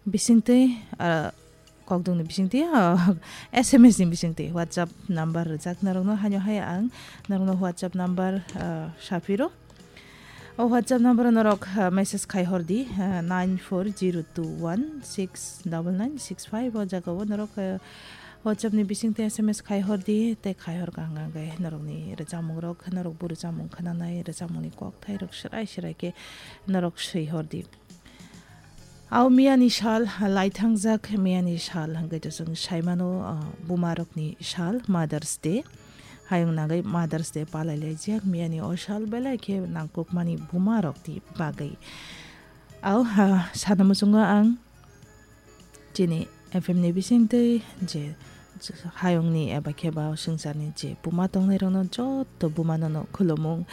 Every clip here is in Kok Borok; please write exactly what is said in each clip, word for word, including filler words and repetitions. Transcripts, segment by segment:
Bisingtwi, ah, kokdwngni bisingtwi, ah, S M S ni bisingtwi WhatsApp number rijak norokno, haino hai ang norokno WhatsApp number, ah, saphiro. O WhatsApp number o norok, ah, message khai hor di, ah, nine four zero two one six double nine six five. O jaga o norok, ah, WhatsApp ni bisingtwi S M S khai hor di, tei khai hor kha hwnkhe norokni rwchapmung rok, norok bo rwchapmung khwnanai, rwchapmung ni kokthai rok swrai swrai khe norok swi hor di. Au miyani sal, laithangjak miyani sal hwnkhe to chwng saimano, ah, bumarokni sal, Mother's Day. Hayung nangwi Mother's Day palailaijak miyani o sal belai khe nangkukmani bumarokni bagwi. Au, ha, sana muchungo ang chini F M ni bisingtwi je hayungni eba khe ba swngcharni je buma tongnairokno joto bumano no khulumung.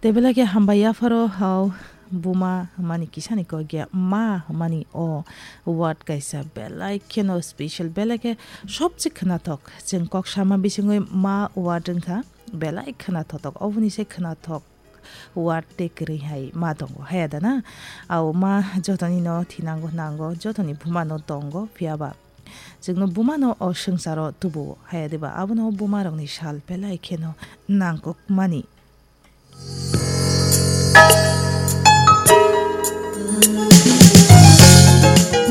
Tei belai khe hambai yapharo hao buma hwnmani kisani kok ya ma hwnmani o word kaisa belai kheno special, belai khe sobse khwnathok. Chwng kok sama bisingwi ma word wngkha belai khwnathok, oboni se khwnathok word tei kwrwi hai ma tongo, haya da na? Au ma jotoni no thinango, nango, jotoni buma no tongo, phiya ba chwngno buma no o swngcharo tubuo, haya de ba? Abono buma rokni sal belai kheno nangkukmani.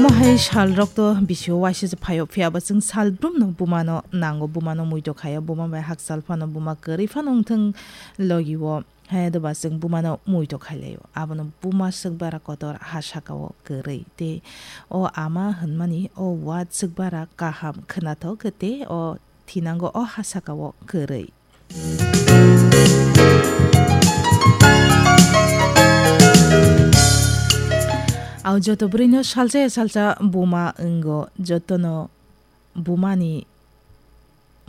Mohai sal rok to bisio waisa se phaio, phiya ba chwng sal brum no buma no nango, buma no muitu khaio, buma bai hakchal phano, buma kwrwi phano wngthwng logi o. Haya de ba chwng bumano muitu khailaio. Abono buma swkbara kotor ha sakao kwrwi. Tei o ama hwnmani o word swkbara kaham khwnathok tei o thinango o ha sakao kwrwi. Au joto bwrwino salsa ya salsa buma wngo, jotono bumani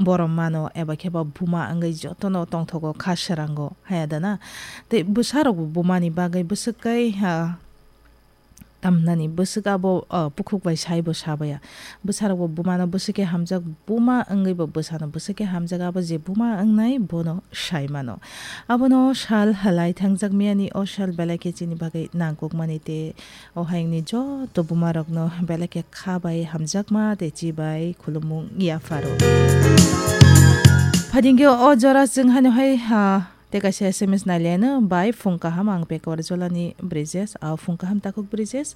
borom mano eba khe ba buma wngwi jotono tongthogo kha srango, haya da na? Tei bwsarokbo bumani bagwi bwswk kai, ha, tamnani bwswk abo, ah, bukhuk bai saibo sabaya. Bwsarokbo bumano bwswk khe hamjak, buma wngwibo bwsano bwswk khe hamjak, abo je buma wngnai bono sai mano. Abono sal halai thangjak miyani o sal belai khe chini bagwi nangkukmani tei o hayungni joto bumarokno belai khe kha bai hamjakma tei chi bai khulumung yapharo. Phaidi hwnkhe o jora chwng haino hai, ha, tei kaisa S M S naileno bai phung kaham ang Pekawar Jolani Brijesh, a phung kaham takhuk Brijesh.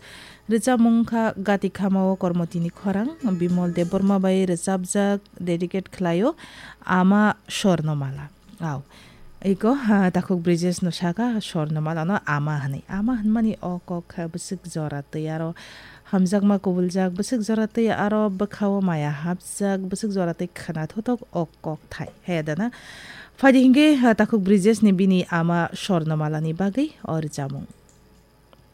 Rwchapmung wngkha Gati Khamao Kormotini Khorang, Bimol Debbarma bai rwchapjak, dedicate khlaio Ama Swarnamala. Au. Iko, ha, takhuk Brijesh no saka Swarnamala no ama hwnwi. Ama hwnmani o kok kha bwswk jora twi aro hamjakma kubuljak, bwswk jora twi aro bwkhao maya hapjak, bwswk jora twi khwna thothok o kok thai. He da na? Phaidi hwnkhe, ha, takhuk Brijesh ni bini ama Swarnamala ni bagwi o rwchapmung.